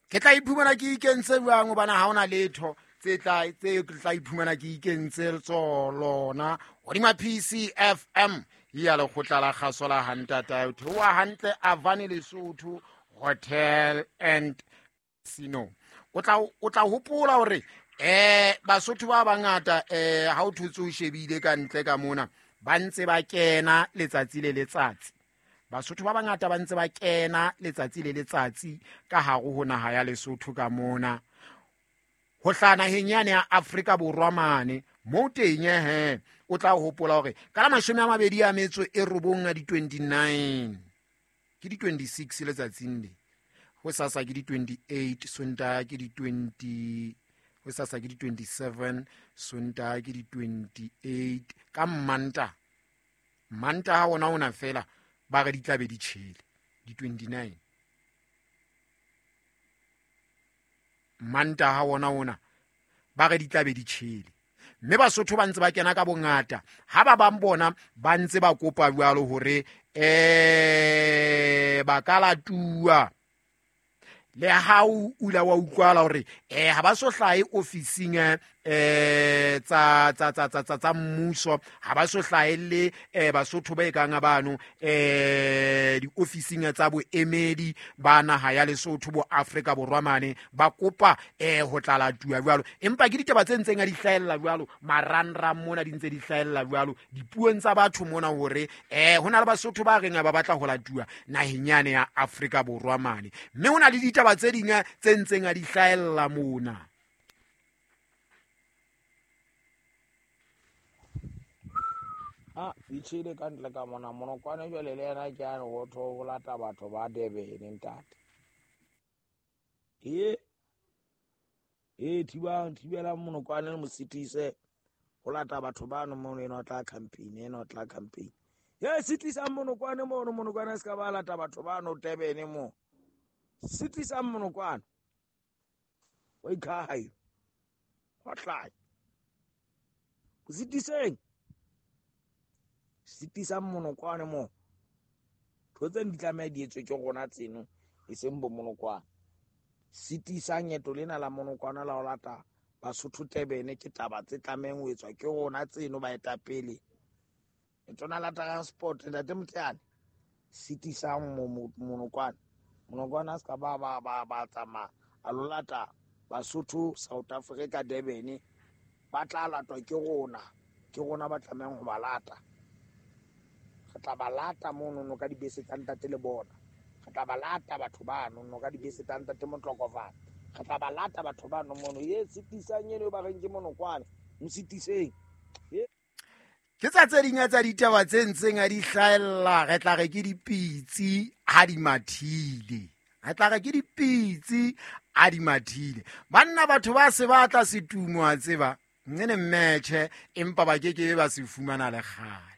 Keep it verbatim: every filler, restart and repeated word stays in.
Ke tla iphumana ke ikentse jwang hobane ha hona letho tse tla tse tla iphumana ke ikentse tsona hodima P C F M ya lekgotla la kgaso la Hantata theoha hantle Avani Lesotho Hotel and Casino. O tla o tla hopola hore eh Basotho ba bangata eh ha o thotse o shebile ka ntle ka mona ba ntse ba kena letsatsi le letsatsi. Basotho ba bangata ba ntse ba kena letsatsi le letsatsi ka hare ho naha ya Lesotho ka mona. Ho hlaha naheng yane ya Afrika Borwa mane mo teng he o tla hopola hore ka la mashome a mabedi a metso e robong a di twenty-nine ke di twenty-six letsatsing le ho sasa ke di twenty-eight Sontaha ke di twenty ho sasa ke di twenty-seven Sontaha ke di twenty-eight ka Manta Manta ha ona ona fela ba re di tlabe di tjhele di twenty-nine Manta ha ona ona ba re di tlabe di tjhele mme Basotho ba ntse ba kena ka bongata ha ba bang bona ba ntse ba kopa jwalo hore eh ba ka latuwa le ha o ula wa utlwala hore eh ha ba so hlahe ofising eh tsa tsa tsa tsa tsa mmuso ha ba so hlahe le eh Basotho ba ekang bano eh diofising tsa boemedi ba naha ya Lesotho bo Afrika Borwa mane ba kopa eh ho tla latuwa jwalo empa ke ditaba tse ntseng a di hlahella jwalo marangrang mona di ntse di hlahella jwalo dipuong tsa batho mona hore eh hona le Basotho ba reng ba batla ho latuwa naheng yane ya Afrika Borwa mane mme hona le ditaba tse ding tse ntseng a di hlahella mona. Ah, itshele ka ntle ka mona monokwane jwale le yena ke a re ho tho ho lata batho ba Durban ntate. E e thibang thibela monokwane le mositise ho lata batho bano mono ena o tla campaign ena o tla campaign. Ye sitisang monokwane mono monokwane a ska ba lata batho bano Durban mo. Sitisang monokwane. O ikhayo. Ho tla. Sitiseng. Sitisang monokwane mo. Tho tse di tlameha di etswe ke rona tseno e seng bo monokwane. Sitisang eto lena la monokwane la ho lata Basotho Durban ke taba tse tlamehang ho etswa ke rona tseno baetapele. Letona la transport ntate Moteane sitisang monokwane. Monokwane a ska ba ba ba ba tsamaya a lo lata Basotho South Africa Durban ba tla latwa ke rona ke rona ba tlamehang ho ba lata. Re tla ba lata mono no ka dibese tsa ntate le bona. Re tla ba lata batho bano no ka dibese tsa ntate Motlokovana. Re tla ba lata batho bano mono ye sitisang eno ba reng ke monokwane mo sitiseng. Ke tsa tse ding tsa ditaba tse ntseng a di hlahella re tla re ke dipitsi ha di mathile. Re tla re ke dipitsi ha di mathile. Banna batho ba se batla setumo a tseba nene mmetjhe empa ba kekebe ba se fumana le kgale.